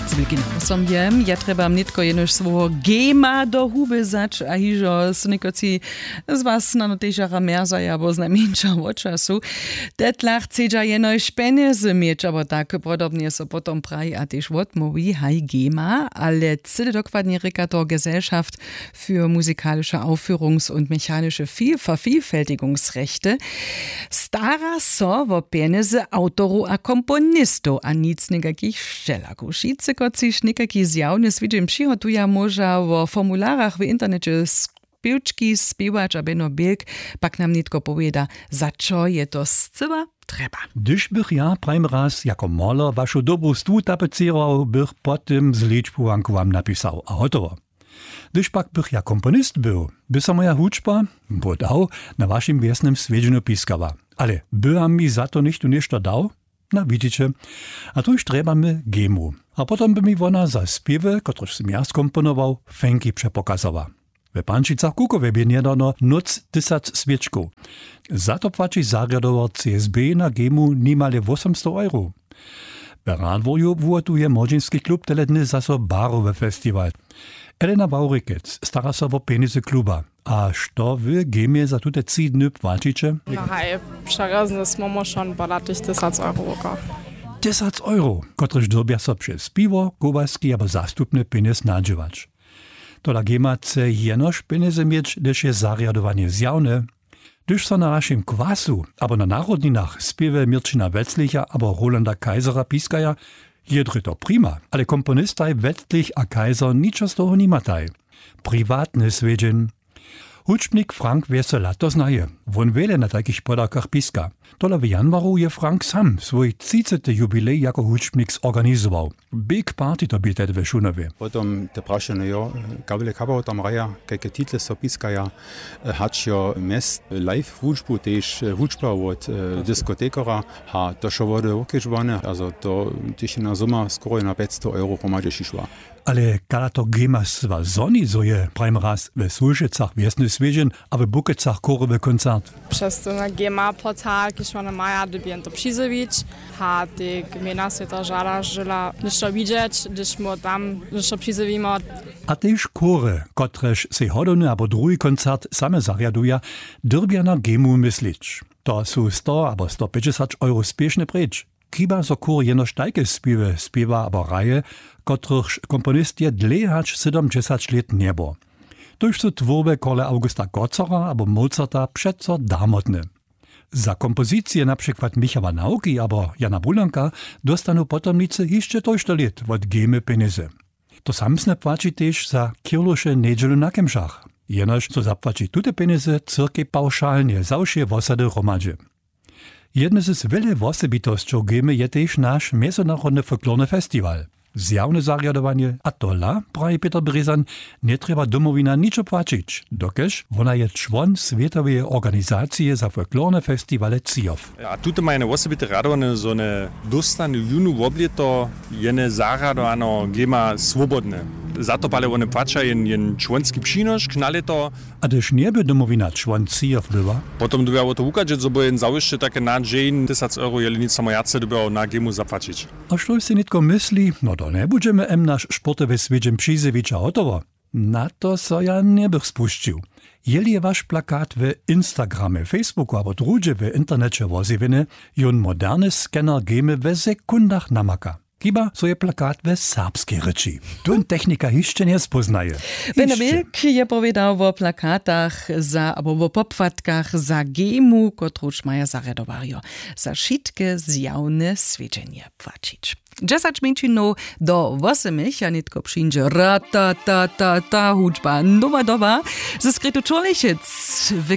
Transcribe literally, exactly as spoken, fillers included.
Wulki nasom je, ja trjebam nětko jenož swojeho gema do huby wzać a hižo sy někotři z was snano tež jara mjerzaja abo znajmjeńša wo času. Tetlach chcedźa jenož pjenjezy měć abo tak podobnje so potom praji a tež wotmołwi haj gema, ale cyle dokładnje rěka to gesellschaft für musikalische Aufführungs- und mechanische Viel- Vervielfältigungsrechte. Stara so wo pjenjezy awtorow a komponistow a nic někakich šćelakow. Wšitcy kotřiž někaki zjawny swědźeń přihotuja móža wo formularach w interneće spěwčki spěwać a beno bilk pak nam nětko powěda, za čo je to scyła trjeba. Hdyž bych ja prajim raz jako moler wašu dobu stwu tapecěrował, bych po tym zličbowanku wam napisał a hotowo. Hdyž pak bych ja komponist był, by so moja hudźba, bo dał, na wašim wjesnym swědźenju piskała. Ale by wam mi za to něchtó něšto dał? Na widźiće. A tuž trjebamy gemu. A potom by mi wona za spěwy, kotrež sym ja skomponował, fenki přepokazała. We pančicach kukowje bě njedawno nóc tysac swěčkow. Za to płaći zarjadowar csb na gemu nimale wósomstow euro. W radworju wuhotuje młodźinski klub tele dny zaso barowy festiwal. Elena wawrikec stara so wo pjenjezy kluba. A što wy gemje za tute tři dny płaćiće? No haj, přerjezny smór móšon podatych tysac euro woka. Tysac euro, kotrež dyrbja so přez piwo, kołaski abo zastupny pjenjez nadźěłać. Tola gema chce jenož pjenjezy měć hdyž je zarjadowanje zjawne. Hdyž so na našim kwasu abo na narodninach spěwy měrćina wetzlicha abo rolanda kaisera piskaja, je drje to prima. Ale komponistaj wetzlich a kaiser ničo z toho nimataj. Priwatny swědźeń. Hudźbnik frank wjesela to znaje. Wón wjele na tajkich podawkach piska. Tola w januaru je frank sam swój třicety jubilej jako hudźbnik zorganizował. Big party to bě tehdy w šunowje. Potom te prašenje jo, kabele kabało tam hraja, kajke title so piskaja, hač jo mjez live hudźbu tež hudźba wot diskotekora. Ha to wšo wody wokěžowane, azo to tež na zoma skoro na pjećstow euro hromadźe šišła. Ale kada to gema swa zhoni zo je prajim raz we sulšecach wjesny swědźeń a we bukecach chórowy koncert? Přez to na gema portal kiž wone maja dyrbjen to přizjewić. Ha te gmejna swěta žada žela něšto widźeć hdyž mu tam něšto přizjewimo. A tež chóry, kotrež sej hodowny abo druhi koncert same zarjaduja, dyrbja na gemu myslić. To su sto abo sto pjećdźesać euro spěšne preč. Chiba zo chór jenož tajke spěwy spěwa abo hraje, kotrychž komponist je dlěje hač sydomdźesać lět njebor. Tójž su twórby korle augusta kocora abo mozarta přeco darmotne. Za kompozicije na přikład michała nawki abo jana bulanka dóstanu potomnicy hišće tójšto lět wot gemy pjenjezy. To samsne płaći tež za kirluše njedźelu na kemšach. Jenož so zapłaći tute pjenjezy cyrkej pawšalnje za wšě wosady hromadźe. Jedne z wjele wosebitosćow gemy je tež naš mjezynarodny folklorny festiwal. Zjawne zarjadowanje a tola, praji pětr brězan, njetrjeba domowina ničo płaćić, dokelž wona je čłon swětoweje organizacije za folklorne festiwale cijow. A tute maja jene wosebite rjadowanje zo jene dóstanu jónu woblěto jene zarjadowano gema swobodne. Za to pale wone płaća jen jen čłonski přinošk na lěto. A hdyž njeby domowina čłon cijow była, potom dyrbja wo to wuchadźeć zo by jen zawěsće take na dźeń tysac euro jeli nic samo wjace dyrbjał na gemu zapłaćić. A štož sej nětko mysli, no to njebudźemy em naš sportowy swědźeń přizjewić a hotowo. Na to so ja njebych spušćił. Jeli je waš plakat w instagramje facebooku abo druhdźe w interneće wozjewjeny, jón moderny scanner gemy we sekundach namaka. Chiba zo je plakat we serbskej rěči. Tón technika hišće njespóznaje. Beno milk je powědał wo plakatach za abo wo popłatkach za gemu kotruž maja zarjadowarjo za wšitke zjawne swědźenje płaćić. Dźesać mjeńšinow do wosomich a nětko přińdźe ratatata hudźba nowa doba. Ze skrytu čurlechec w